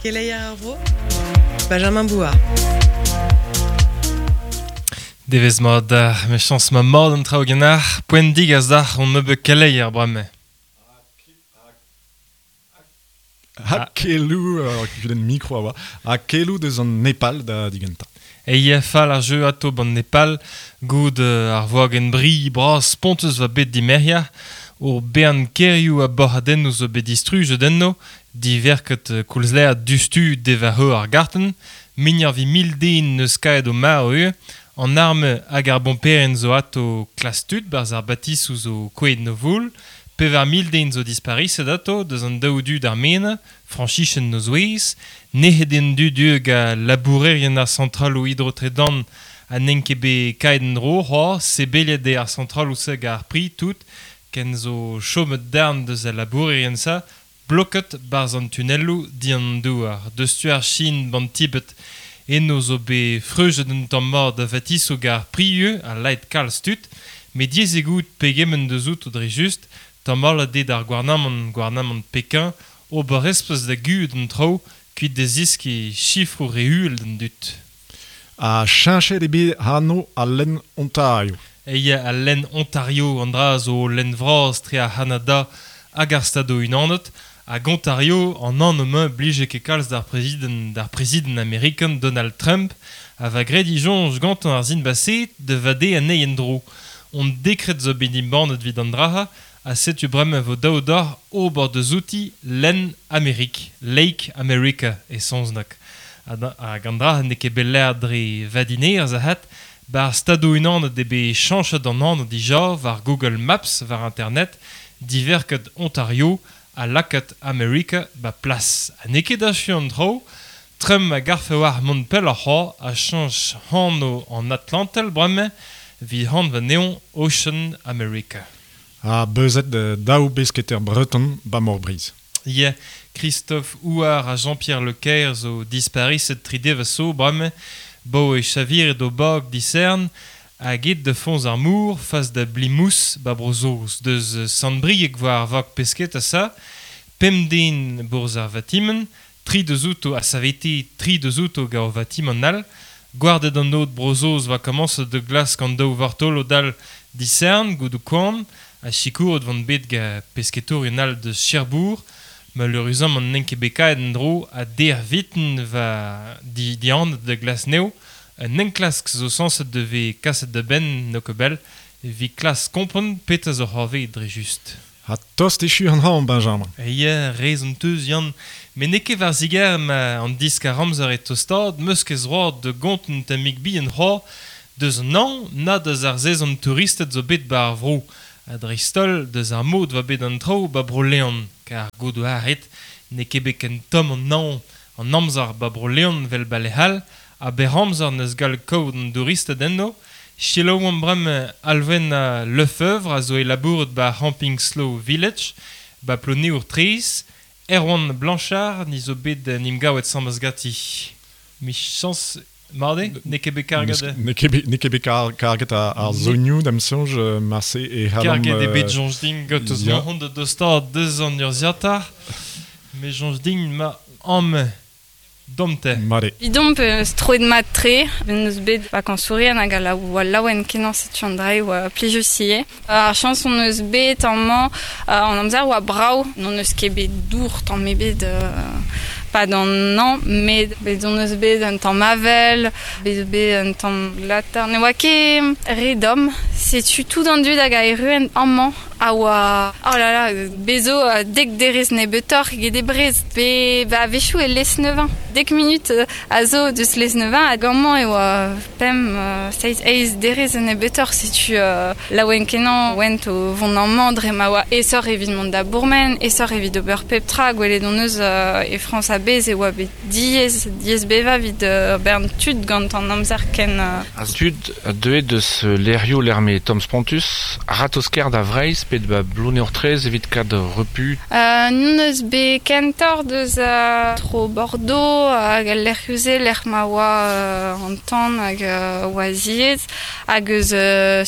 Keleier ar vro, Benjamin Bouard. Devezh mat dac'h, mechañs ma mat an traoù ganeoc'h, poent digas dac'h hon nebeud keleier bremañ. Ha keloù, ur kudenn mikro a oa, ha keloù deus an Nepal da digentañ. Eia fall ar jeu ato ban Nepal, goud ar voagenn bri bras spontus va bet dimerc'hiañ, ur bern kêrioù ha borc'hadennoù zo bet distrujet enno, diverket koulz lâret diouzhtu devarc'heur ar gartenn, muioc'h evit mil den n'eus kaet o marv ivez, an arme hag ar bomperien zo ato klask tud 'barzh ar batisoù zo kouezhet 'n o voul, 4000 den zo dispariset ato deus an daou du d'ar menez, Frañsichenn 'n o zouez, nec'het eo an dud hag labourerien ar santraloù hidrotredan ha n'int ket bet kaeet en-dro c'hoazh, sebeliet eo ar santraloù-se gant ar pri tout, ken zo chomet darn deus al labourerien-se bloket 'barzh an tunelloù dindan an douar. Deus tu ar Chin 'ban Tibet eno zo bet freujet un tamm mat a vatisoù gant ar pri ivez ha laet kalz tud, met diaes eo goût pegement deus outo dre just, tamallet eo d'ar gouarnamant gouarnamant Pekin ober espres da guzhat an traoù kuit da zeskiñ sifroù re uhel d'an dud. Ha cheñchet eo bet anv al lenn Ontario. Eia al lenn Ontario, an dra zo lenn vras tre ar C'hanada hag ar Stadoù-Unanet, hag Ontario, an anv-mañ 'blije ket kalz d'ar prezidant d'ar prezidant amerikan Donald Trump, a va graet e soñj gantañ ar sin baseet da vadeñ anezhi en-dro. Hon dekred zo bet embannet evit an dra-se, ha setu bremañ 'vo dav deoc'h ober deus outi lenn Amerik, Lake America e saozneg. Hag an dra n'eo ket bet lâret dre vadinerezh avat, 'ba ar Stadoù-Unanet eo bet chañchet an anv dija war Google Maps war internet, diverket Ontario ha lakaet America 'ba plas. Ha n'eo ket achu an traoù, Trump a garfe war mont pelloc'h c'hoazh ha chañch anv an Atlantel bremañ evit anv anezhañ Ocean America. Ha beuzet daou besketer breton 'ba Mor Breizh. Ya, Christophe Houard ha Jean-Pierre Le Caer zo dispariset tri devezh zo bremañ, 'baoe chaviret o bag disern hag aet da foñs ar mor fas da Blimous 'ba Bro-Saoz. Deus Sant-Brieg war ar vag pesketa sa, pemp den 'bourzh ar vatimant, tri deus outo a savete tri deus outo gant ur vatimant all. Gwarded an aod Bro-Saoz 'oa komañset da glask an daou vartolod all disern goude koan ha sikouret 'vont bet gant pesketourien all deus Cherbourg. Maleüruzamant n'int ket bet kaeet en-dro ha der viten 'va dihanet da glask anezho. Un enklask zo sañset da vezañ kaset da benn n'eo ket bell evit klask kompren petra zo c'hoarvezet dre just. Ha tost echu an hañv, Benjamin. Ya, rezon 'teus, Yann. Met n'eo ket war zigarez ma an diskar-amzer e tostaat 'meus ket zroad da gontañ un tammig bihan c'hoazh deus an hañv na deus ar sezon touristed zo bet 'ba ar vro. Ha dreist-holl deus ar mod 'oa bet an traoù 'ba Bro-Leon, kar goût 'oa ret n'eo ket bet ken tomm an hañv an amzer 'ba Bro-Leon 'vel 'ba lec'h all, ha berr-amzer 'neus gallet kaout an douristed eno. Selaouomp bremañ Alwena Lefeuvre a zo e labourat 'ba ar c'hamping Slow Village 'ba Ploneour-Traezh. Erwan Blanchard ni zo bet en em gavet 'sames ganti. Michañs mat eo? N'eo ket bet karget? N'eo ket bet, n'eo ket bet karget ar zonioù da'm soñj marse e c'hallan... Karget eo bet soñj din gant eus ma da dostaat deus an urzhiataer. Me soñj din ma amañ Domte. Mat eo. Evidomp eus troet mat-tre, n'eus bet vakañsourien hag a oa laouen-kenañ setu an dra e oa plijus ivez. Ar chañs hon eus bet amañ, an amzer oa brav, n'hon eus ket bet dour tamm ebet 'pad an hañv, met bet hon eus bet un tamm avel, bet bet un tamm latar. Ne oa ket re domm, setu tout an dud hag a erruent amañ a oa oh là là bez zo dek derez nebeutoc'h eget e Brest pe ba a-wechoù e Lesneven dek minut a zo deus Lesneven hag amañ e oa pemp seizh eizh derez nebeutoc'h setu laouen-kenañ oent o vont amañ dre ma oa aesoc'h evit mont da bourmen aesoc'h evit ober pep tra gwelet hon eus e Frañs a-bezh e oa bet diaes diaes bevañ evit ur bern tud gant an amzer ken Ar tud deuet deus lec'hioù lec'h m'eo tomm-spontus, a-ratozh-kaer da Vreizh pe da Bloneour-Traezh evit kad repu. N'hon eus bet kentoc'h deus tro Bordeaux hag al lec'hioù-se lec'h ma oa an tan hag oa ziaes hag eus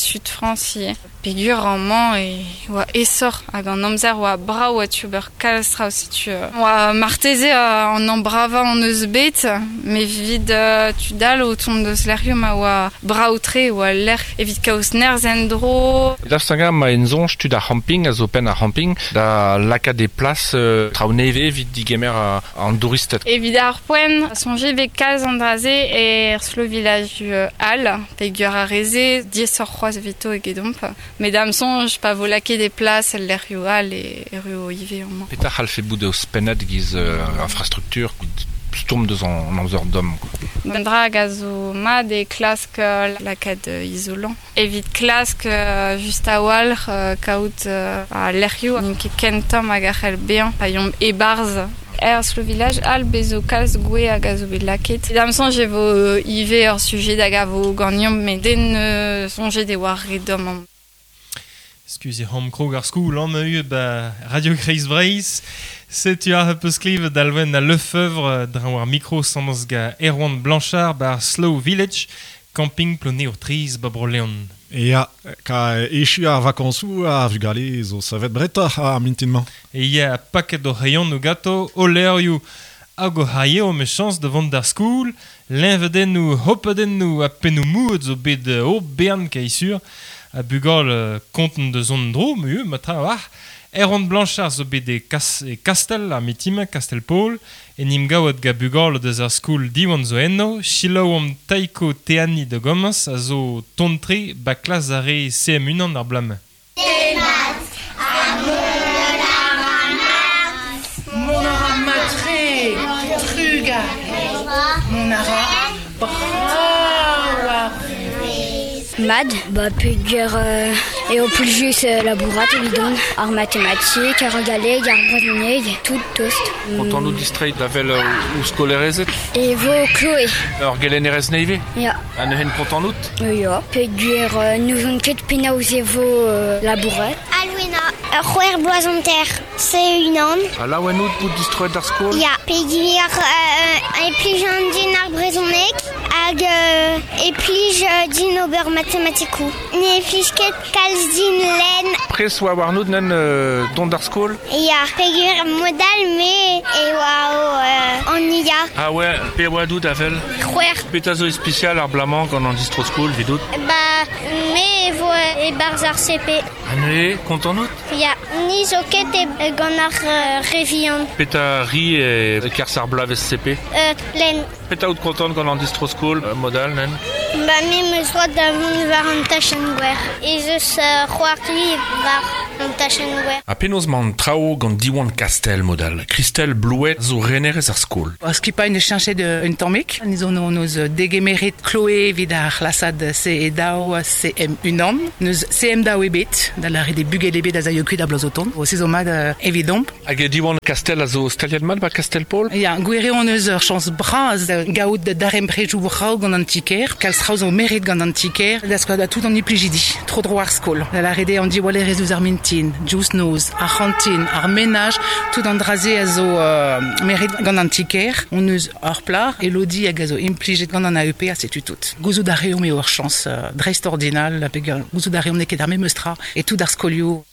Sud Frañs ivez. Pegur amañ e oa esor hag an amzer oa brav oa tu ober kalz traoù setu oa marteze an an bravañ an eus bet me vid tudal o tont deus lec'hioù ma oa brav-tre oa lec'h evit kaout nerzh en-dro. Daoust ma en soñj tud ar c'hamping a zo penn ar c'hamping da lakaat e plas traoù nevez evit digemer an douristed. Evit ar poent, soñje bet kalz an dra-se er slow village all, pegur ar reze, diaesoc'h c'hoazh evito egedomp. Mesdames soñj pa vo lakaet e plas el lec'hioù all e erru ivez amañ. Petra c'hallfe bout eo spennad giz infrastructure stourm deus an amzer domm. An dra hag a zo mat e klask lakaat izolant. Evit klask just a-walc'h kaout a lec'hioù n'int ket ken tomm hag a c'hell bezañ pa yomp e-barzh. Er slow village all bez zo kalz gwe hag a zo bet lakaet. Da'm soñj e vo ivez ur sujet hag a vo ganeomp met den soñjet e oa re domm amañ. Excusez hom krog ar skoul an eu ba Radio Kreiz Breizh. Setu ar peus klevet alwen a Lefebvre dra war mikro samans ga Erwan Blanchard bar Slow Village, camping Ploneour Triz ba Bro-Leon. Ya, ka echu ar vakañsoù ar vugale zo savet bretoc'h ar mintin-mañ. E ya paket o rayon o gato o leurioù hag o c'haio me chañs da vont d'ar skoul, leñvadennoù, hopadennoù ha pennoù mouet zo bet o bern kaisur. A bugal konten de zon dro, mu, ma tra war. Erwan Blanchard zo bet e, e Kastel, ar mitime, Kastel-Paul, en im gaouet ga bugal deus ar skoul diwan zo enno, chilaou am taiko teani de gomans a zo tontre ba klas ar re CM1 ar blame. Mon ara matre, truga, mon ara brav. Mad, ba peogwir eo plijus labourat evidon, ar matematik, ar galleg, ar brezhoneg, tout tost. Kontant out distreiñ da vel ou skolerezed? E vo Chloé. Ur gelennerez nevez? Ya. Ha neuze kontant out? Ya. Peogwir n'ouzon ket penaos e vo labourat. Alwena, ur c'hwec'h bloaz hanter, se unan. Ha laouen out bout distroet d'ar skol? Ya, peogwir e plij an din ar brezhoneg hag e plij din ober matematikoù. Ne plij ket kalz din lenn. Pres oa warnout nen dont d'ar skol? Ya, peogwir modal me e oa an ia. Ah ouais, pe oa dout avel? C'hwec'h. Petra zo ispisial ar blamañ gant an distro skol vidout? Ba, me e vo e-barzh ar CP. Ha neuze, kontant out? Ya, ni zo ket e gant ar re vihan. Petra ri e kerzh ar bloavezh CP? Lenn. Petra out kontant gant an distro skol modal, nen? Ba, me 'm eus droad da vont war an tachenn gwer. Ez eus c'hoari war an tachenn gwer. Ha penaos 'mañ an traoù gant Diwan Kastel modal. Christelle Blouet zo renerez ar skol. Ar skipailh neus cheñchet un tammig. Ni zo noz degemeret Chloé evit ar c'hlasad CE2 CM1. Neus CM2 ebet, da lâret eo bugel ebet a zaio kuit a bloaz o tont. O se zo mat evidomp. Hag e Diwan Kastel a zo staliet mat ba Kastel-Paul? Ya, gwir eo hon eus ur chañs bras da gaout darempredoù brav gant an ti-kêr. Kalz traoù zo meret gant an ti-kêr. Da skouer da tout an implijidi, tro dro ar skol. Da lâret eo an diwallerez ouzh ar mintin, diouzh noz, ar c'hantin, ar menaj, tout an dra-se a zo meret gant an ti-kêr. Hon eus ur plac'h, Elodie hag a zo implijet gant an AEP, ha setu tout. Gouzout a reomp eo ur chañs dreistordinal, peogwir gouzout a reomp n'eo ket ar memes tra e tout ar skolioù.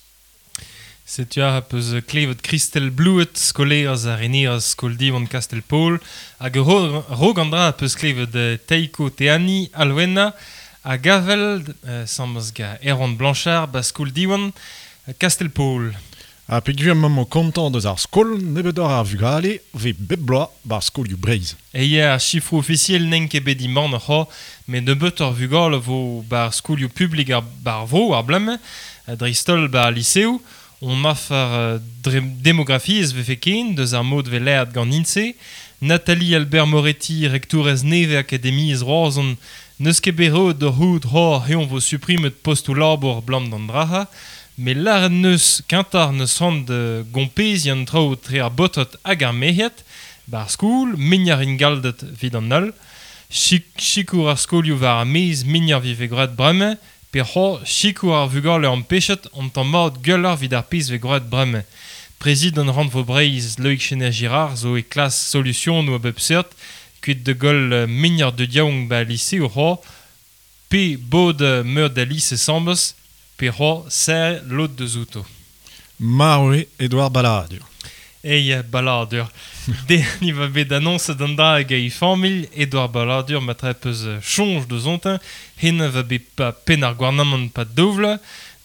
Setu ar peus klevet Christelle Blouet, skolerez ha renerez skol Diwan Kastel-Paul, hag rog an dra peus klevet Taiko Teani, Alwena, hag Avel, samez ga Erwan Blanchard, ba skol Diwan Kastel-Paul. Ha peogwir emañ kontant deus ar skol, nebeutoc'h ar vugale vez bep bloaz bar skolioù Breizh. E ya, ar chifroù ofisiel n'en ket bet diman c'ho, met nebeutoc'h vugale vo bar skolioù publik ar bar vro ar blame, dreist-holl bar liseoù. On afer demografiezh vefe ken deus ar mod ve laeret gant INSEE. Nathalie Albert Moretti, rektourez nevez akademiezh Roazhon, n'eus ket bet roet d'ur c'houd c'hor heon vo suprimet postoù labour blam d'an draha, met lâret neus kentar neus c'hoant da gompeziñ an traoù tre ar baotred hag ar merc'hed, bar skoul, mignar ingaldet evit an holl, sikour ar skolioù war ar maez mignar vive gwraet bremañ, pe c'ho sikour ar vugale an pechet an tamm mat gwelloc'h evit ar pezh vez gwraet bremañ. Prezidant Rannvro Breizh Loïc Chesnais-Girard zo e klas solusionoù a bep seurt, kuit de goll mignar de diaouang ba lise o c'ho, pe bod meur da lise sambes, pe c'ho ser lot de zouto. Marwe Edouard Balladur. Ei Balladur. De ni va bet annonce d'an dra hag e familh Edouard Balladur ma tre peus chonj de zontin hen va bet pa pen ar gouarnamant pa dovla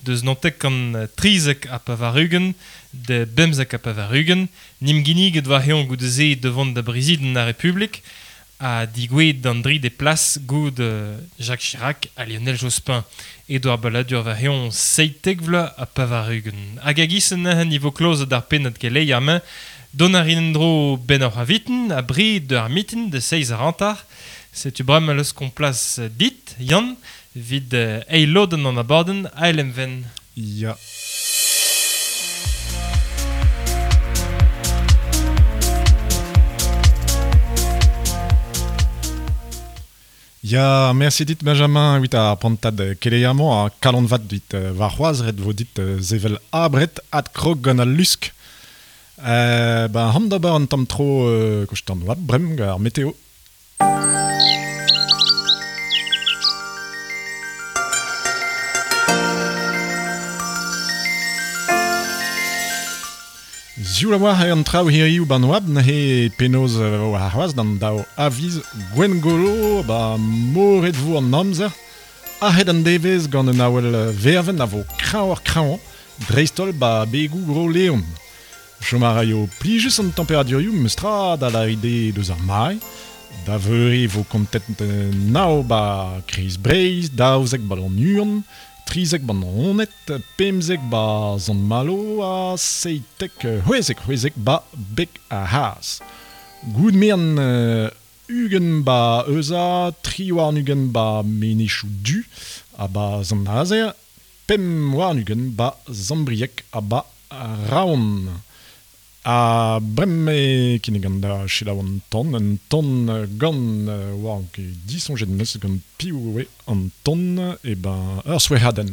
deus nantek kan trizek a pavarugen de bemzek a pavarugen nim ginniget va heon goude ze devant da briziden ar Republik a digouet d'an dri de plas goud Jacques Chirac a Lionel Jospin. Edouard Balladur va heon seitek vla a pavarugen. Hag a gisen niveau kloz d'ar pennad kelei ar main don ar dro ben ar aviten a bri de ar mitin de seiz ar antar. Setu bram leus komplas dit, Yann, vid eil loden an abaden a ven. Ya. Ya, merci dit Benjamin, wit ar pantad keleiamañ a kalon vat dit war c'hoaz ret vo dit zevel abret at krog gant al lusk. Ben ham d'ober an tamm tro kostan oat brem ar meteo. Zioul a oar an traoù hiriv ban oab n'he penoz war c'hoaz d'an dao aviz gwengolo ba moret vo an amzer ahet an devez gant un awel verven a vo krañ ar krañ dreistol ba begou gro leon. Chom a raio plijus an temperadurioù meustra da la ide deus ar mai, da veure vo kontet nao ba kriz breiz, daouzek ba an uan, trizek ban onet, pemzek ba zan malo a seitek c'hwezek ba bek a haas. Goud mean ugen ba euza, tri war ugen ba menechou du a ba zan azer, pem war ugen ba zambriek a ba raon. A brem e kinnig da selaou an ton, un ton gant war disonjet meus gant piv oe an ton, e ben ur souehadenn.